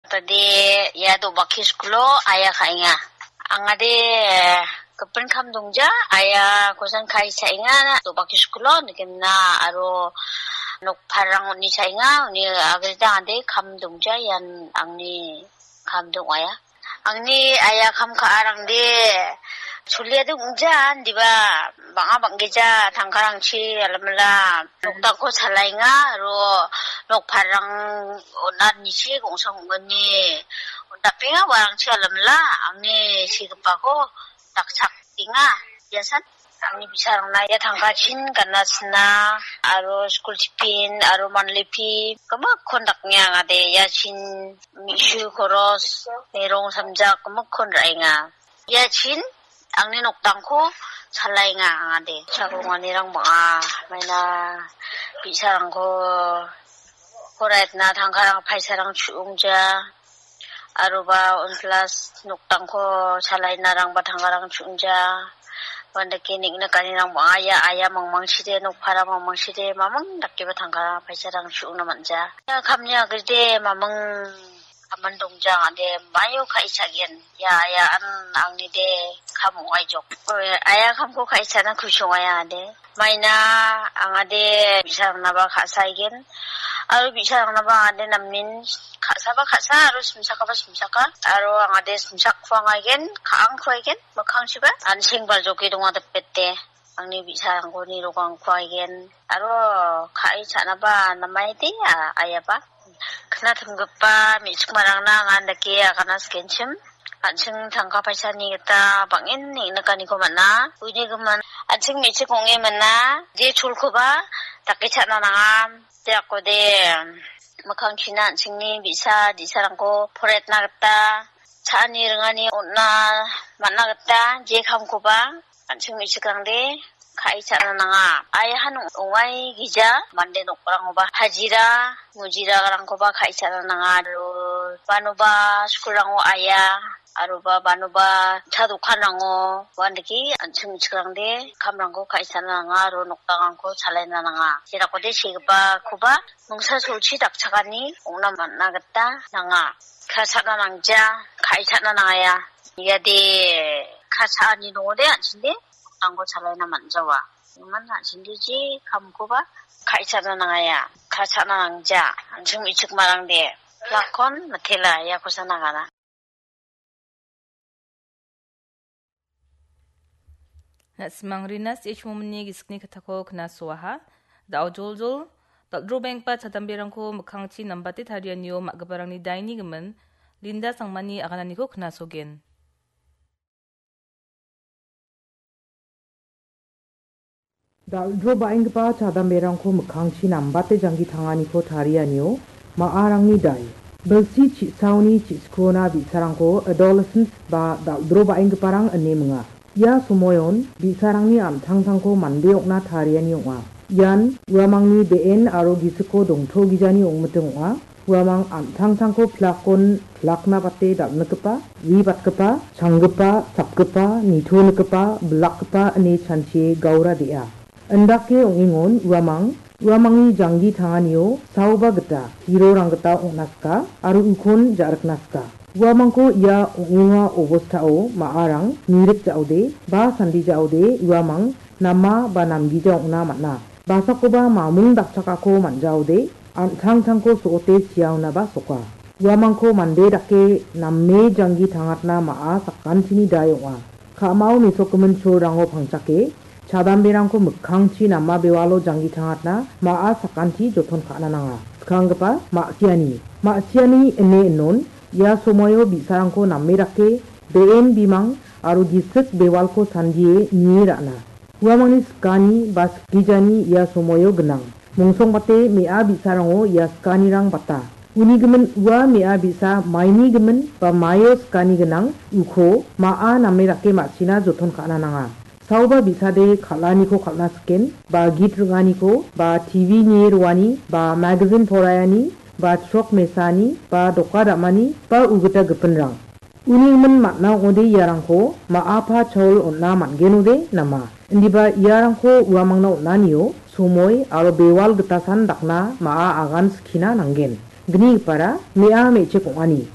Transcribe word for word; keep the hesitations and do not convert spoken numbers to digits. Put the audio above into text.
Tade ia do·baki skulo aia ka·enga. Angade gipin kam dongja, aia kosan kai cha·enga, do·baki skulo nikimna aro nokparang uni cha·enga, uni agreda angade kam dongja, ian angni kam dong·aia. Angni aia kam ka·arangde solia dongja, indiba bang·a bang·gija tangkarangchi alamala nokdakko chalaenga, aro nokparang on·a nichi gongsa ong·gni on·dapenga uarangchi alamala angni sigipako dakchakenga. Biasan angni bi·sarangna ia tangkachin gana sina aro skul tiffin aro monthly fee gimikkon daknge angade iachin mi·su koros, merong samjak gimikkon ra·enga. Iachin angni nokdangko chalaenga angade. Chaklonganirang bang·a, maina bi·sarangko poraitna tangkarang paisarang chu·ongja. Aroba on plus nokdangko chalaenarangba tangkarang chu·ongja. Uandake neng·nikanirang bang·a, ia aia mangmangchide, nokpara mangmangchide, mamang dakeba tangkarang paisarang chu·ongna man·ja. Ia kamni agrede mamang aman dongja angade maio ka·e cha·gen. Ia, ia an angnide kam ong·aijok. Oi, aia kamko ka·e cha·na kusi ong·aia angade. Maina angade bi·sarangnaba ka·saigen. Aro bi·sarangnaba angade namen ka·saba ka·sa aro simsakaba simsaka. Aro angade simsak kuangaigen, ka·ang kuaigen, mikkangchiba. An·seng baljoke donga dipete. Angni bi·sarangko nirokangkuaigen. Aro ka·e cha·naba namaide a-, aiaba. Knatimgipa me·chikmarangna anga andake agana sikenchim. An·ching tangka paisani gita bang·en neng·nikaniko man·a. Uni gimin an·ching me·chik ong·e man·a. Je cholkoba dake cha·na nangam. Te akode mikkangchina an·chingni bi·sa di·sarangko poraitna gita cha·ani ringani on·na man·a gita je kamkoba an·ching me·chikrangde ka·e cha·na nanga. Aiahan ong-, ong·ai gija mande nokrangoba hajira, mujirarangkoba ka·e cha·na nanga. Aro banoba skulrango aia, aroba banoba cha dokanrango uandake an·ching me·chikrangde kamrangko ka·e cha·na nanga aro nokdangrangko chalaina nanga. Jerakode segipakoba mingsa solchi dakchakani ong·na man·a gita nanga. Ka·e cha·na nangja, ka·e cha·na nangaia. Iade ka·e cha·ani dongode an·chingde nokdangko chalaina man·jawa. Iman an·chingde je kamkoba ka·e cha·na nangaia. Ka·e cha·na nangja, an·ching me·chikmarangde. Lakon mitela, ia kosa nagana. Na·simang Rina S H Momini gisikni kattako knasoaha. Da·o joljol, dal·drobenggipa chadamberangko mikkangchi nambate tarianio ma·giparangni daini gimin Linda Sangmani agananiko knasogen. Dal·dro ba·enggipa chadamberangko mikkangchi nambate janggi tanganiko tarianio ma·arangni dai. Bilsi chi·saoni chi·sikona bi·sarangko adolescents ba dal·dro ba·enggiparang ine minga. Ia somoion bi·sarangni an·tangtangko mande ong·na tariani ong·a. Ian uamangni be·en aro gisiko dongtogijani ong·miting ong·a. Uamang an·tangtangko pilakon pilakna bate dal·nikgipa, wi batgipa, changgipa, sapgipa, nitonikgipa, bilakgipa ine chanchie gaura de·a. Indake ong·engon uamang, uamangni janggi tanganio saoba gita, hirorang gita ong·na sika aro ukon ja·rikna sika. Uamangko ia ong·enga obostao ma·arang mirik ja·ode ba sandi ja·ode uamang nama ba namgija ong·na man·a. Basakoba mamung dakchakako man·jaode, an·tangtangko so·ote siaonaba soka. Uamangko mande dake name janggi tangatna ma·a sakantini dai ong·a. Ka·mao mesokgimin cholrango pangchake, chadamberangko mikkangchi nama bewalo janggi tangatna ma·a sakanti joton ka·na nanga. Skanggipa ma·siani. Ma·siani ine inon, ia somoio bi·sarangko name dake, be·en bimang aro gisik bewalko sandie nie ra·na. Uamangni sikani ba sikgijani ia somoio gnang. Mongsongbate me·a bi·sarango ia sikanirang bata. Uni gimin ua me·a bi·sa maini gimin ba maio sikani gnang uko ma·a name dake ma·sina joton ka·na nanga. Saoba bi·sade kal·aniko kal·na siken, ba git ring·aniko, ba T V nie roani, ba magazine poraiani, ba chrok mesani, ba doka dam·ani, ba ugita gipinrang. Uni gimin man·a ong·ode iarangko ma·apa chaol on·na man·genode nama? Indiba iarangko uamangna on·anio somoi aro bewal gitasan dakna ma·a agan skina nanggen. Gnigipara me·a me·chik ong·ani.